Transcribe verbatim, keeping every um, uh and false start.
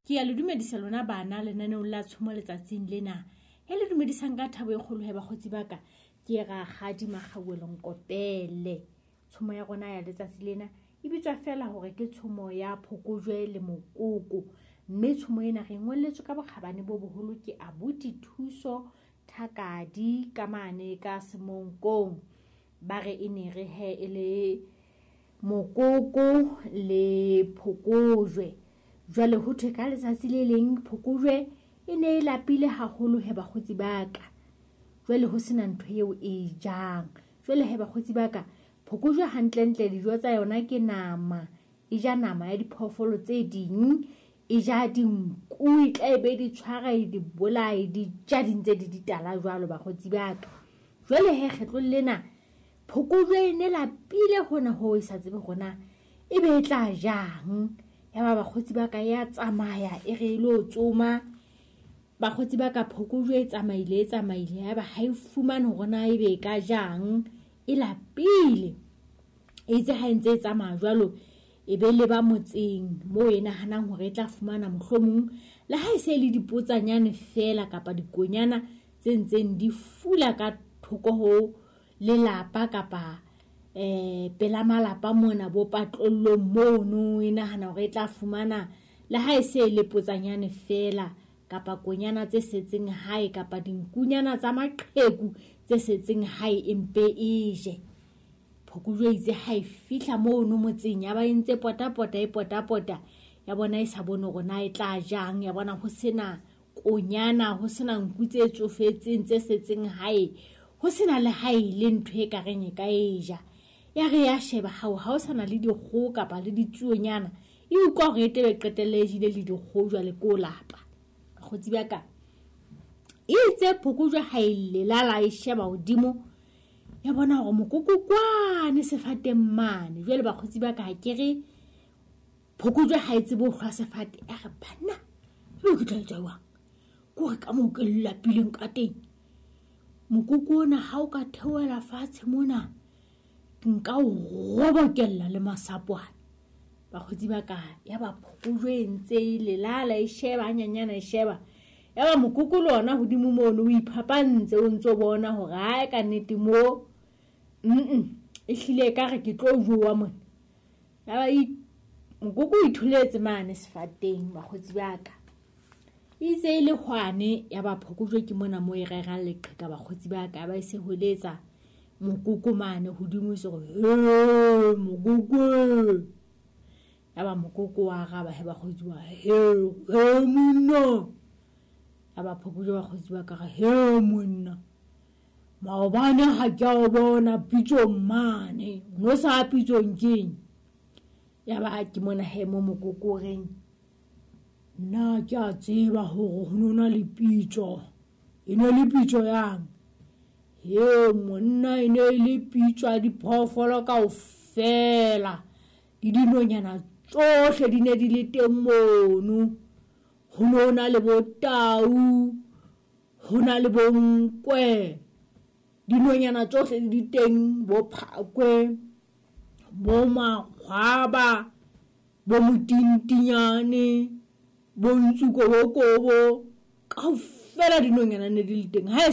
Ke a le dumedisa lona bana lenaneong la tshomo letsatsing lena. E le dumedisang ka thabo e kgolo he bakgotsi ba ka. Ke Rakgadi Makgauwelo Nkopele. Tshomo ya rona ya letsatsi lena e bitswa fela hore ke tshomo ya Phokojwe le Mokoko. Mme tshomo ena re ngolletswe ka bokgabane bo boholo ke abuti Thuso Thakadi ka mane ka Semonkong. Ba re e ne re he e le Mokoko le Phokojwe. Jwale ho thwe ka letsatsi le leng Phokojwe e ne e lapile haholo he bakgotsi ba ka. Jwale ho sena ntho eo e jang. Jwale he bakgotsi ba ka, Phokojwe hantlentle dijo tsa yona ke nama. E ja nama ya diphoofolo tse ding, e ja dinku, e tla e be di tshwara, e di bolaye, di ja di ntse di ditala jwalo bakgotsi ba ka. Jwale he kgetlong lena Phokojwe e ne lapile hona hoo e sa tsebe hore na e be e tla jang. Ya ba bakgotsi ba ka ya tsamaya e re e lo tsoma. Bakgotsi ba ka Phokojwe e tsamaile e tsamaile ya ba ha e fumane hore na ebe e ka jang, e lapile. Eitse ha e ntse e tsamaya jwalo, e be le ba motseng moo e nahanang hore e tla fumana mohlomong le ha e se le dipotsanyane fela kapa dikonyana tse ntseng di fula ka thoko ho lelapa kapa eh pela malapa mona bo patlollong mono, e nahana hore e tla fumana le ha e se le potsanyane fela kapa konyana tse setseng hae kapa dinkunyana tsa maqheku tse setseng hae empe e je. Phokojwe itse ha e fihla mono motseng ya ba e ntse potapota e potapota, ya bona e sa bone hore na e tla jang, ya bona ho sena konyana, ho sena nku tse tsofetseng tse setseng hae, ho sena le hae le ntho e ka reng e ka e ja. Ya re ya sheba hao ha o sana le dikgoho kapa le ditsuonyana, e utlwa hore e tebe qetelle e jele le dikgoho jwale ko lapa. Bakgotsi ba ka, itse Phokojwe ha e lelala e sheba hodimo, ya bona hore mokoko kwane sefateng mane. Jwale bakgotsi ba ka ha ke re Phokojwe ha e tsebe ho hlwa sefate, ya re banna ebe ke tla etsa jwang, ke hore ka moo ke lapileng ka teng, mokoko ona ha o ka theohela fatshe mona nka o robokella le masapwana. Bakgotsi ba ka, ya ba Phokojwe e ntse e lelala e sheba hanyanyana e sheba, ya ba mokoko le ona hodimo mono o iphapantse o ntso bona hore hae ka nnete mo mm e hlile ka re ke tlo jowa mona. Ya ba mokoko o itholetse mane sefateng bakgotsi ba ka. Itse e le hwane ya ba Phokojwe ke mona mo e rerang leqheka bakgotsi ba ka, ba e se holetsa mokoko mane hodimo e se re he mokoko. Ya ba mokoko wa araba he bakgotsi ba he he monna. Ya ba Phokojwe bakgotsi ba ka re he monna, maobane ha ke a o bona pitsong mane, o no sa pitsong keng? Ya ba ke mona he mo mokoko o reng, nna ke a tseba hore ho no na le pitso, e ne le pitso yang? He monna, e ne le pitso ya diphoofolo kaofela, le dinonyana tsohle di ne di le teng mono. Ho no na le bo tau, ho na le bo nkwe, dinonyana tsohle di teng, bo phakwe, bo makgwaba, bo motintinyane, bo ntsukobokobo, kaofela dinonyana ne di le teng. Ha e